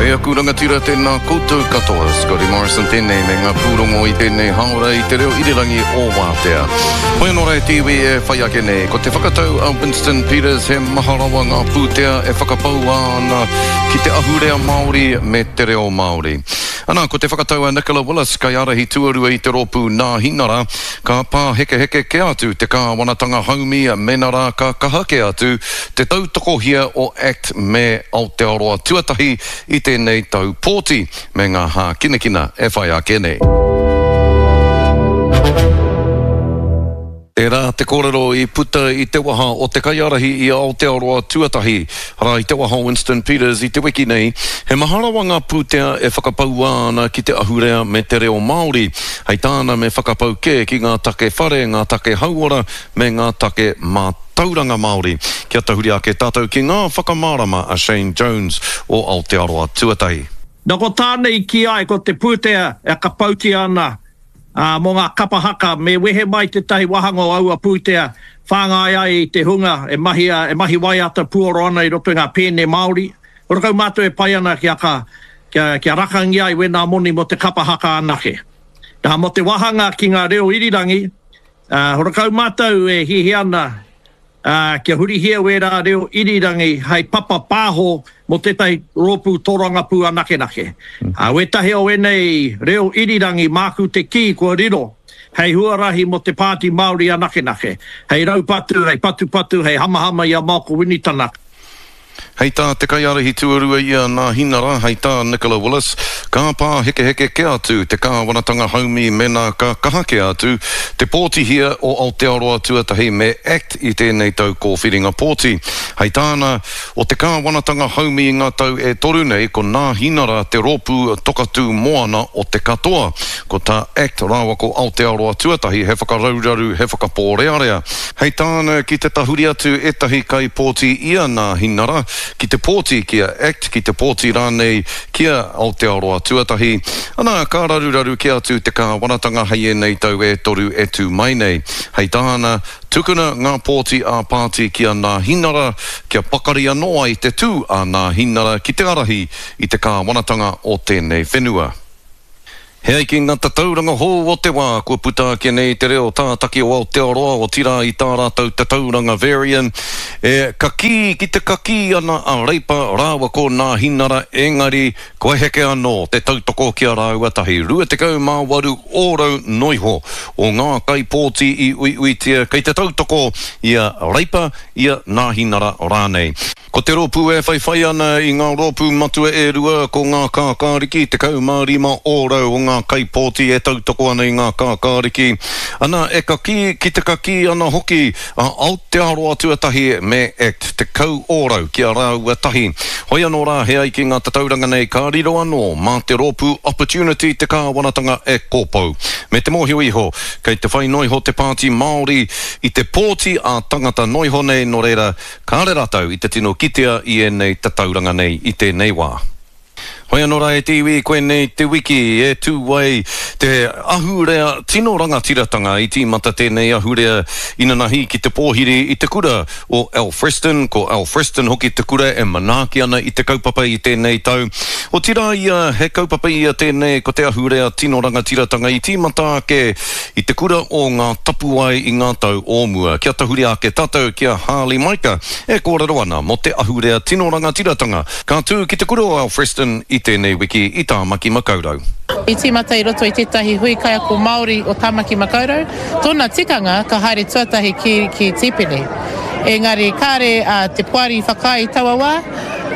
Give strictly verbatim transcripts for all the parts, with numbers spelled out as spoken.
E aku rangatira tēnā koutou katoa, Scotty Morrison tēnei me ngā pūrongo i tēnei haora i te reo irirangi o Wātea. Hoi anō rā e te iwi e whai ake nei, ko te whakatau a Winston Peters he maha rawa ngā pūtea e whakapaua ana ki te ahurea Māori me te reo Māori. Ana, ko te whakatau a Nicola Willis, kaiārahi tuarua i te rōpū Nāhinara, ka pāhekeheke kē atu te kāwanatanga haumi mena rā ka kaha kē atu te tautokohia o Act me Aotearoa Tuatahi i tēnei tau pōti me ngā hākinakina e whai ake nei. Tērā te kōrero i puta i te waha o te kaiārahi i Aotearoa Tuatahi, arā i te waha o Winston Peters i te wiki nei, he maha rawa ngā pūtea e whakapaua ana ki te ahurea me te reo Māori. Hei tāna me whakapau kē ki ngā take whare, ngā take hauora me ngā take mātauranga Māori. Kia tahuri ake tātou ki ngā whakamārama a Shane Jones o Aotearoa Tuatahi. Na ko tāna i kī ai ko te pūtea e kapautia ana ā, mō ngā kapa haka, me wehe mai tētahi wāhanga o aua pūtea, whāngai ai i te hunga e mahia, e mahi waiata puoro ana i roto i ngā pēne Māori. Horakau mātou e pai ana kia ka, kia, kia rakangia ai wēnā moni mō te kapa haka anake. Nā, mō te wāhanga ki ngā reo irirangi, ā, horakau mātou e hiahia ana, ā, kia hurihia wērā reo irirangi hei papa pāho mō tētahi rōpū tōrangapū anakenake. Ā, wētahi o ēnei reo irirangi māku te kī kua riro hei huarahi mō te Pāti Māori anakenake, hei raupatu, hei patupatu, hei hamahama i a Malcolm Winitana. Hei tā te kaiārahi tuarua i a Nāhinara, hei tā Nicola Willis, ka pāhekeheke kē atu te kāwanatanga haumi mēnā ka kaha kē atu te pōtihia o Aotearoa Tuatahi me Act i tēnei tau kōwhiringa pōti. Hei tāna, o te kāwanatanga haumi i ngā tau e toru nei, ko Nāhinara te rōpū tokatū moana o te katoa. Ko tā Act rāua ko Aotearoa Tuatahi he whakarauraru, he whakapōrearea. Hei tāna, ki te tahuri atu ētahi kaipōti i a Nāhinara, ki te pōti ki a Act, ki te pōti rānei ki a Aotearoa Tuatahi, ana, ka raruraru kē atu te kāwanatanga hei ēnei tau e toru e tū mai nei. Hei tāna, tukuna ngā pōti ā-pāti ki a Nāhinara, kia pakari anō ai te tū a Nāhinara ki te ārahi i te kāwanatanga o tēnei whenua. He ai ki ngā tatauranga hou o te wā, kua puta ake nei te reo tātaki o Aotearoa, otirā i tā rātou tatauranga Verian, e kakī ki te kakī ana a Reipa rāua ko Nāhinara, engari kua heke anō te tautoko ki a rāua tahi. rua tekau mā waru ōrau noiho o ngā kaipōti i uiuitia kei te tautoko i a Reipa, i a Nāhinara rānei. Ko te rōpū e whaiwhai ana i ngā rōpū matua e rua, ko ngā kākāriki, tekau mā rima ōrau o ngā kaipōti e tautoko ana i ngā kākāriki, ana e kakī ki te kakī ana hoki a Aotearoa Tuatahi me Act, tekau ōrau ki a rāua tahi. Hoi anō rā, he ai ki ngā tatauranga nei ka riro anō mā te rōpū Opportunity te kāwanatanga e kōpou. Me te mōhio iho, kei te whai noiho te Pāti Māori i te pōti ā-tangata noiho nei, nō reira, Kāre rātou i te tino kitea i ēnei tatauranga nei i tēnei wā. Hoi anō rā e te iwi, koinei te wiki e tū ai te ahurea tino rangatiratanga. I tīmata tēnei ahurea inanahi ki te pōhiri i te kura o Alfriston. Ko Alfriston hoki te kura e manaaki ana i te kaupapa i tēnei tau. Otirā ia, he kaupapa ia tēnei ko te ahurea tino rangatiratanga i tīmata ake i te kura o Ngā Tapuwae i ngā tau o mua. Kia tahuri ake tātou ki a Harley Maika e kōrero ana mō te ahurea tino rangatiratanga ka tū ki te kura o Alfreston i tēnei wiki i Tāmaki Makaurau. I tīmata i roto i tētahi hui kaiako Māori o Tāmaki Makaurau, tōna tikanga ka haere tuatahi ki, ki Tīpene. Engari kāre a te poari i whakaae i taua wā,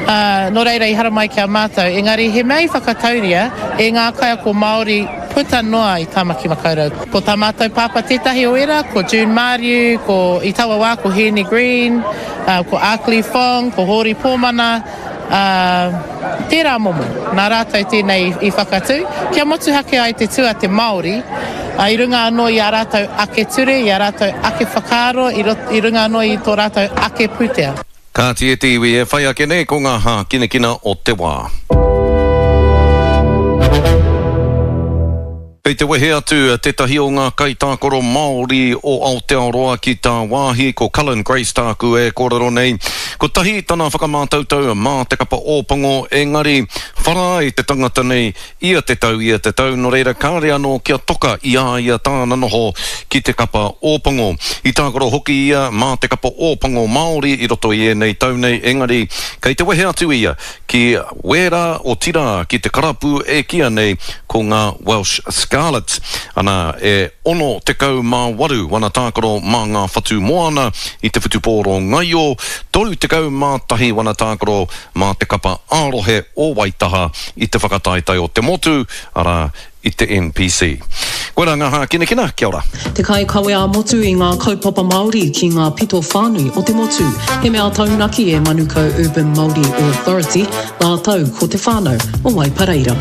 ā, nō reira i haramai ki a mātou. Engari he mea i whakatauria e ngā kaiako Māori puta noa i Tāmaki Makaurau. Ko tā mātou pāpā tētahi o ērā, ko June Māriu, ko, i taua wā ko Hēni Green, ā, ko Arkley Fong, ko Hōri Pōmana, ā, tērā momo. Nā rātou tēnei i whakatū, kia motuhake ai te tū a te Māori, ā, i runga anō i ā rātou ake ture, i ā rātou ake whakaaro, i i runga anō i tō rātou ake pūtea. Kāti e te iwi e whai ake nei ko ngā hākinakina o te wā. Kei te wehe atu tētahi o ngā kaitākaro Māori o Aotearoa ki tāwāhi, ko Cullen Grace tāku e kōrero nei. Kotahi tana whakamātautau mā te kapa Ōpango, engari Whara ai te tangata nei ia te tau, ia te tau, nō reira kāre anō kia toka i a ia tāna noho ki te kapa Ōpango. I tākaro hoki ia mā te kapa Ōpango Māori i roto i ēnei tau nei, engari kei te wehe atu ia ki Wēra, otirā ki te karapu e kīa nei ko ngā Welsh Scarlets. Ana, e ono tekau mā waru wana tākaro mā ngā whatu moana i te whutupōro ngaio, toru tekau mā tahi wana tākaro mā te kapa ā-rohe o Waitaha i te whakataetae o te motu, arā, i te N P C. Koirā ngā hākinakina, kia ora. Te kaikawe ā-motu i ngā kaupapa Māori ki ngā pito whānui o te motu. He mea taunaki e Manukau Urban Māori Authority, rātou ko te whānau o Waipareira.